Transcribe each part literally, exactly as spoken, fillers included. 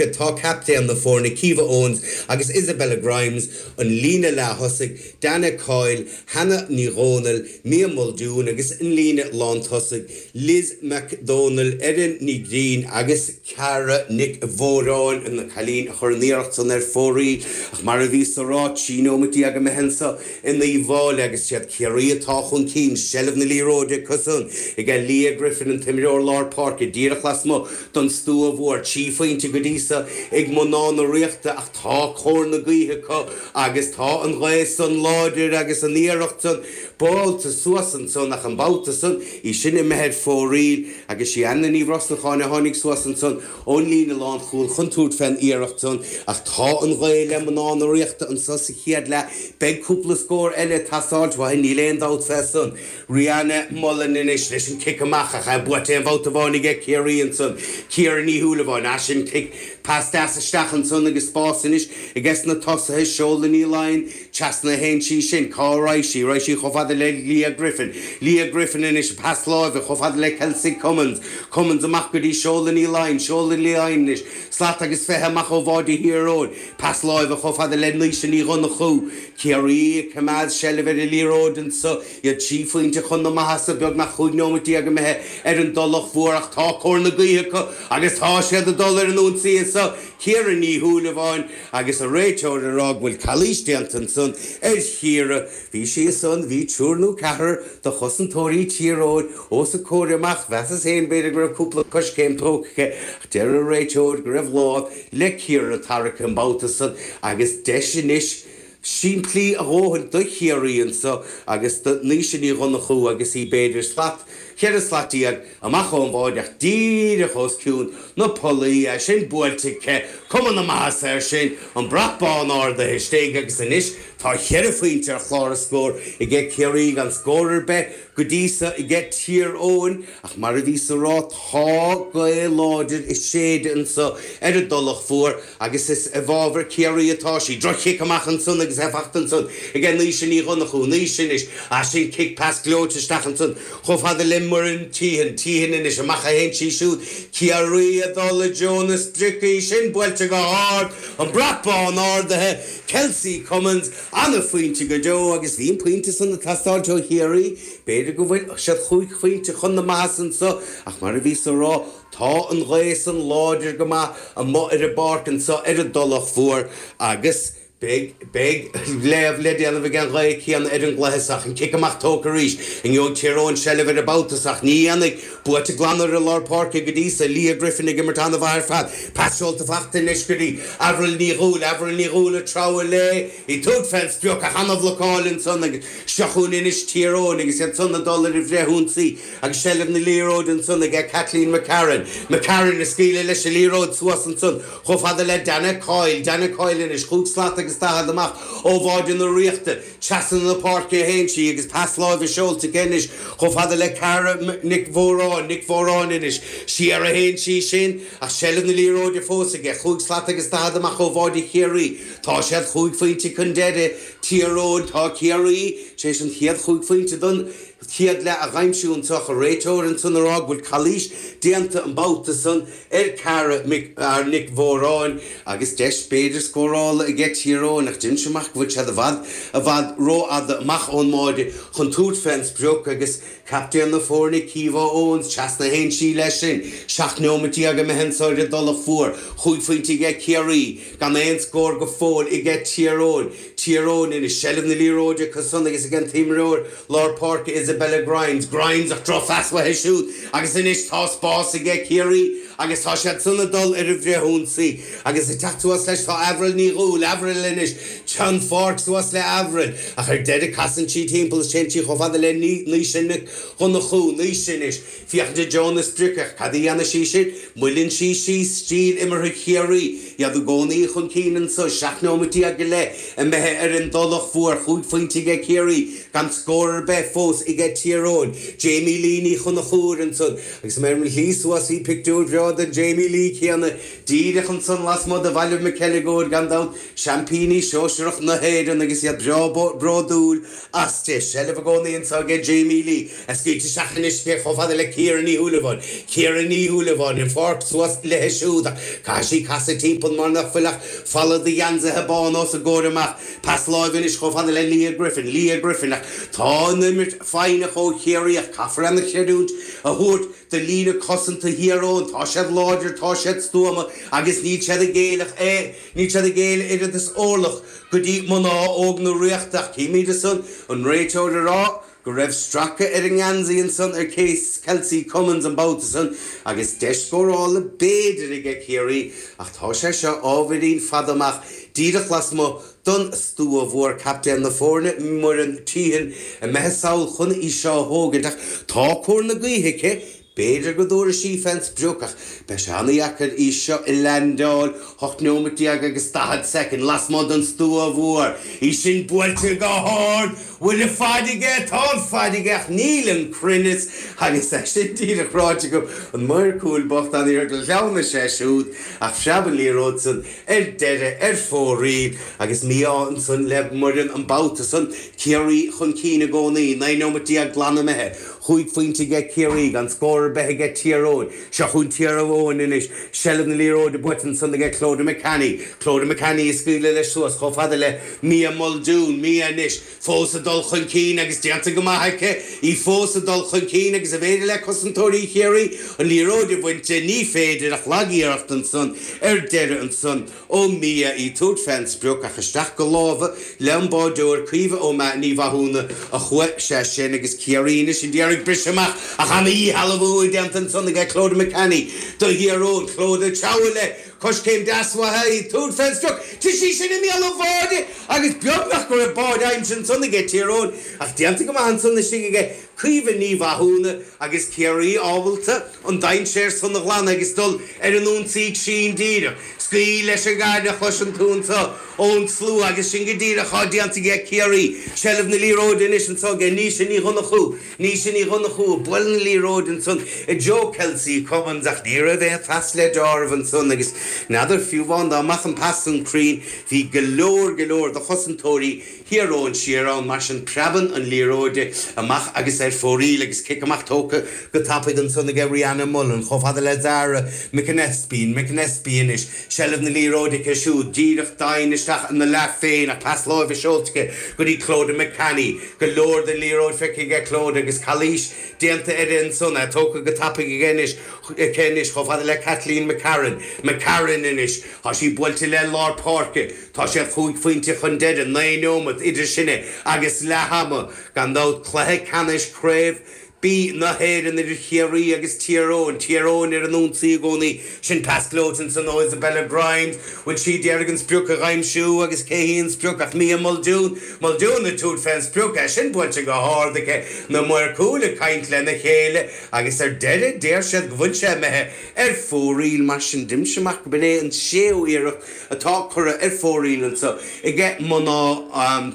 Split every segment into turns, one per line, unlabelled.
Tá captaen na foirne Caoimhe Owens agus Isabella Grimes an líne leath-thosaigh Dana Coyle, Hannah Ní Dhomhnaill, Mia Muldoon agus an líne lántosaigh Liz McDonald, Erin Ní Green agus Cara Nic Mhóráin na cailíní a chuir an iarracht san ar fóraoil ach mar a bhíos ag rá trí nóiméad déag imithe anseo in Uíbh Fhailí agus siad Ciarraí atá chun cinn seilbh na liathróide acusan ag Leah Griffin an t-imreoir lár páirce díreach lasmuigh don stua mhór trí phointe go dtí seo ag mná na Ríochta ach tá cóir na gaoithe acu agus tá an ghaoth san láidir agus an iarracht san buailte suas ansan ach an babhta san í sin imithe ar fóraoil agus sí Anna Ní Bhrosnacháin a tháinig suas ansan ón líne lánchúil chun tabhairt fén iarracht san ach tá an ghaoth le mná na Ríochta anseo sa chéad leath beidh cúpla scór eile ag teastáil uathu níl aon dabht fé san. Rihanna Mullen anois leis an cic amach ach é buaite aon bhabhta amháin aige Ciarraí ansan. Ciara Ní Shúilleabháin as sin cic pas deas isteach ansan agus spás anois aige na tosaithe Seola Ní Laighin trasna a théann sí sin cá raghaidh sí raghaidh sí chomh fada le Leah Griffin. Leah Griffin anois pas láimhe chomh fada le Kelsey Cummins. Cummins amach go dtí Seola Ní Laighin, Seola Ní Laighin anois slat agus fiche amach ó bháide Thír Eoghain. Pas láimhe chomh fada le Naoise Ní Dhonnchú. Ciarraí ag coimeád seilbh ar an liathróid anseo iad trí phointe chun na maitheasa beagnach cúig nóiméad déag imithe ar an dTulach Mhór ach tá cóir na gaoithe acu agus tá siad ag dul ar an ionsaí anseo Ciara Ní Shúilleabháin agus an réiteoir ag rá go bhfuil calaois déanta ansan ar Chiara. Bhí sí ansan, bhí triúr nó ceathrar de chosantóirí Thír Eoghain os a comhair amach. Mheasas féin b'fhéidir go raibh cúpla coiscéim tógtha aici ach deir an réiteoir go raibh lámh le Ciara tarraicthe an babhta san agus deis anois simplí a dhóthain do Chiarraí anseo agus do Naoise Ní Dhonnchú agus í b'fhéidir slat, cheithre slat déag amach ón bháide ach díreach os cionn na pollaí, é sin buailte aici, cuma na maitheasa air sin, an brat bán ardaithe istigh agus anois tá cheithre phointe ar chlár na scór aige Ciarraí gan scór ar bith go dtí seo aige Tír Eoghain ach mar a bhíos ag rá tá gaoth láidir ag séideadh anseo ar an dTulach Mhór agus is i bhfabhar Ciarraí atá sí. Droch-chic amach ansan agus é fachta ansan aige Naoise Ní Dhonnchú, Naoise anois, ah sin cic pas gleoite isteach ansan chomh fada le Muireann Teehan, Teehan anois, amach a théann sí siúd, Ciarraí ag dul i dtreo na sprice, í sin buailte go hard, an brat bán ardaithe, Kelsey Cummins, ana-phointe go deo agus bhí an pointe san ag teastáilt ó Chiarraí. B'fhéidir go bhfuil siad chúig phointe chun na maitheasa anseo ach mar a bhíos ag rá, tá an ghaoth san láidir go maith amuigh ar an bpáirc anseo ar an dTulach Mhór agus beidh, beidh léamh le déanamh ag an ghaoth chéanna ar an gcluiche seo. An cic amach tógtha arís. An ngeobhaidh Tír Eoghain seilbh air an babhta seo ach ní dhéanfaidh. Buaite glan ar an lár páirce go dtí seo. Leah Griffin ag imirt an-mhaith ar fad. Pas seolta fachta anois go dtí Avril Ní Dhúill. Avril Ní Dhúill ag treabhadh léi. Í ag tabhairt fén sprioc ach ana-bhlocáil ansan agus seo chugainn anois Tír Eoghain agus iad san ag dul ar an bhfrithionsaí agus seilbh na liathróide ansan aige Kathleen McCarron. McCarron ag scaoileadh leis an liathróid suas ansan chomh fada le Dana Coyle. Dana Coyle anois chúig slat agus daichead amach ó bháide na Ríochta. Trasna na páirce a théann sí agus pas láimhe seolta aici anois chomh fada le Cara Nic Mhóráin. Nic Mhóráin anois. Siar a théann sí sin ach seilbh na liathróide fós aige. Chúig slat agus daichead amach ó bháide Chiarraí. Tá siad chúig phointe chun deiridh. Tír Eoghain, Tá Ciarraí tar éis an chéad chúig phointe don chéad leath a dh'aimsiú anseo ach an réiteoir ansan ag rá go bhfuil calaois déanta an babhta san ar Cara Nic Mhóráin agus deis b'fhéidir scórála aige Tír Eoghain ach déanann sé amach go bhfuil siad i bhfad i bhfad rófhada amach ón mbáide chun tabhairt fén sprioc agus captaen na foirne Caoimhe Owens trasna a théann sí leis sin. Seacht nóiméad déag imithe anso ar an dTulach Mhór. Chúig phointe aige Ciarraí, gan aon scór go fóill aige Tír Eoghain. Tír Eoghain anois, seilbh na liathróide acu san agus ag an t-imreoir lár páirce Isabella Grimes. Grimes ach drochphas uaithi siúd agus anois tá spás aige Ciarraí agus tá siad san ag dul ar an bhfrithionsaí agus ag teacht suas leis tá Avril Ní Dhúill, Avril anois, an pháirc suas le Avril ach ar deireadh casann sí timpeall is téann sí chomh fada le Naoise Nic Dhonnchú, Naoise anois, féachaint i dtreo na sprice ach cad a dhéanfaidh sí sin? Moilleann sí síos stíl imeartha Chiarraí, iad i gcónaí chun cinn anso, seacht nóiméad déag go leith imithe ar an dTulach Mhór, chúig phointe aige Ciarraí gan scór ar bith fós aige Tír Eoghain. Jamie Lee Ní Chonchúir ansan agus mé ar mo shlí suas bhí pictiúr breá seo den Jamie Lee céanna díreach ansan lasmuigh de Bhaile Mhic Eileagóid gan dabht seaimpíní sóisearach na hÉireann agus iad breá bródúil aisti. Seilbh i gcónaí anseo aige Jamie Lee a scaoilte isteach anois chomh fada le Ciara Ní Shúilleabháin. Ciara Ní Shúilleabháin an pháirc suas léi siúd ach caithfidh sí casadh timpeall mar nach bhfuil ach falla de gheansaithe bána os a gcomhair amach. Pas láimhe anois chomh fada le Leah Griffin. Leah Griffin ach tá an imirt foighneach ó Chiarraí ach caithfear an-chreidiúint a thabhairt do líne cosanta Thír Eoghain. Tá siad láidir, tá siad stuama agus níl siad ag géilleadh é, níl siad ag géilleadh oiread is orlach go dtí mná óg na Ríochta. Ach címid ansan an réiteoir ag rá go raibh stracadh ar an ngeansaí ansan ar Case Kelsey Cummins an babhta san agus deis scórála b'fhéidir aige Ciarraí ach tá sé seo ábhairín fada amach díreach lasmuigh don stua mhór. Captaen na foirne Muireann Teehan imithe sall chun í seo a thógaint ach tá cóir na gaoithe aici. B'fhéidir go dtabharfaidh sí fén sprioc ach beidh sé an-dheacair í seo a leaindeáil ocht nóiméad déag agus daichead soicind lasmuigh den stua mhór. Í sin buailte go hard! Bhfuil an fad aige? Tá an fad aige ach níl an cruinneas agus é sin díreach ráite agam. An maor cúil bocht an-iarracht ghleanna sé siúd ach phreab an liathróid san ar deireadh ar fóraoil agus mí-ádh ansan le Muireann an babhta san. Ciarraí chun cinn i gcónaí, naoi nóiméad déag glan imithe. Cúig phointe aige Ciarraí, gan scór ar bith aige Tír Eoghain. Seo chugainn Tír Eoghain anois. Seilbh na liathróide buaite ansan aige Clodagh McCanny. Clodagh McCanny ag scaoileadh leis suas chomh fada le Mia Muldoon. Mia anois fós ag dul chun cinn agus déanta go maith aici. Í fós ag dul chun cinn agus an féidir le cosantóirí Chiarraí an liathróid a bhaint di? Ní féidir ach lagiarracht ansan ar deireadh ansan ó Mia í ag tabhairt fén sprioc ach isteach go lámha le an báideoir Caoimhe Ó Ní Mhathúna a chuaigh sé sin agus Ciarraí anois ag iarraidh briseadh amach ach ana-dhíshealbhú déanta ansan aige Clodagh McCanny do Thír Eoghain. Clodagh ag treabhadh le coiscéim deas uaithi í ag tabhairt fén sprioc. Tá sí sin i mbéal an bháide agus beagnach go raibh báide aimsithe ansan aige Tír Eoghain ach déanta go maith ansan istigh aige Caoimhe Ní Mhathúna agus Ciarraí ábalta an dainséar san a ghlanadh agus dul ar an ionsaí sin díreach. Scaoil leis an gcaid a chloiseann tú anseo ón slua agus sin go díreach atá déanta aige Ciarraí. Seilbh na liathróide anois anseo aige Naoise Ní Dhonnchú. Naoise Ní Dhonnchú ag bualadh na liathróide ansan i dtreo Kelsey Cummins ach ní raibh aon phas le deáramh ansan agus n'fheadar fiú amháin dá mbeadh an pas san cruinn bhí go leor go leor de chosantóirí Thír Eoghain siar ann, mar sin preabann an liathróid amach agus ar fóraoil agus cic amach tógtha go tapaidh ansan aige Rihanna Mullen chomh fada le Zara McAnespie, McAnespie anois, seilbh na liathróide aici siúd díreach doimhin isteach ina leath féin ach pas láimhe seolta aici go dtí Clodagh McCanny. Go leor den liathróid feicthe aige Clodagh agus calaois déanta uirthi ansan, é tógtha go tapaidh aige anois, aici anois chomh fada le Kathleen McCarron, McCarron anois, tá sí buailte le lár páirce, tá siad chúig phointe chun deiridh, naoi nóimeat idir sinne agus leath ama, gan dabht, cluiche ceannais Craobh B na hÉireann idir Chiarraí agus Tír Eoghain, Tír Eoghain ar an ionsaí i gcónaí, sin pas gleoite ansan ó Isabella Grimes, bhfuil sí d'iarraidh an sprioc a aimsiú agus cé hí an sprioc ach Mia Muldoon, Muldoon ag tabhairt fén sprioc, é sin buailte go hard aici, na maoir cúil ag caint lena chéile agus ar deireadh deir siad go bhfuil sé imithe ar fóraoil, mar sin d'imigh amach go b'in é an séú iarracht atá curtha ar fóraoil anseo aige mná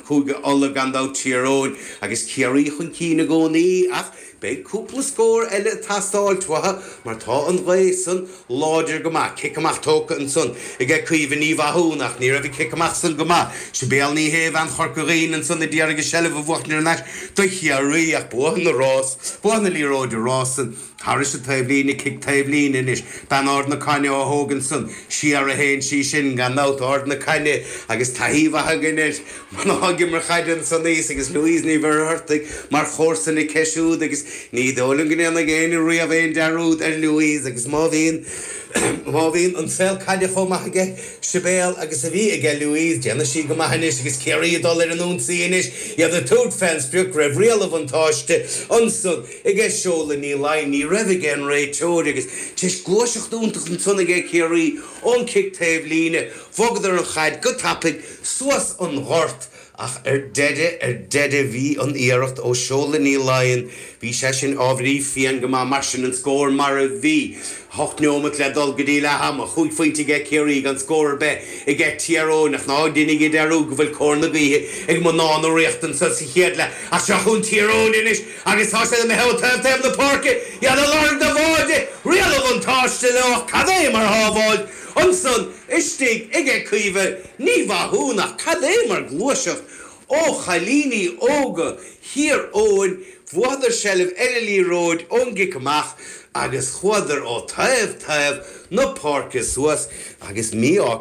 Chúige Uladh, gan dabht Tír Eoghain agus Ciarraí chun cinn i gcónaí ach beidh cúpla scór eile ag teastáilt uathu mar tá an ghaoth san láidir go maith. Cic amach tógtha ansan aige Caoimhe Ní Mhathúna ach ní raibh an cic amach san go maith. Sibéal Ní Shé, bean Chorca Dhuibhne ansan a d'iarraidh an seilbh a bhuachtaint thar n-ais do Chiarraí ach buadh na rás, buadh na liathróide rás san. Thairis an taobhlíne, cic taobhlíne anois. Bean Ard na Caithne á thógaint san. Siar a théann sí sin, gan dabht, Ard na Caithne agus taithí mhaith againn ar mhná ag imirt caide ansan thíos agus Louise Ní Mhuircheartaigh mar chomharsa aici siúd agus ní dóigh liom go ndéanfaidh éinne riamh aon dearúd ar Louise agus má bhíonn má bhíonn an saol caide chomh maith aige Sibéal agus a bhí aige Louise, déanfaidh sí go maith anois agus Ciarraí ag dul ar an ionsaí anois, iad ag tabhairt fén sprioc, raibh riail an bhuntáiste ansan aige Seola Ní Laighin, ní raibh aige an réiteoir agus tar éis gluaiseacht iontach ansan aige Ciarraí ón cic taobh líne, bhogadar an chaid go tapaidh suas an gort Ach ar deireadh ar deireadh bhí an iarracht ó Sheola Ní Laighin, bhí sé sin ábhairín fiáin go maith mar sin an scór mar a bhí. Hocht neomat le dul go dtí leath ama, chúig phointe aige Ciarraí gan scór ar bith aige Tír Eoghain ach ná déanaigí dearúd go bhfuil cóir na gaoithe ag mná na Ríochta anseo sa chéad leath. Ach seo chugainn Tír Eoghain anois agus tá siad imithe ó taobh taobh na páirce, iad ag lorg do bháide, riail an bhuntáiste leo ach cad é mar shábháil ansan istigh aige Caoimhe Ní Mhathúna ach cad é mar ghluaiseacht ó chailíní óga Thír Eoghain, bhuadar seilbh ar an liathróid ón gcic amach agus chuadar ó taobh taobh na páirce suas agus mí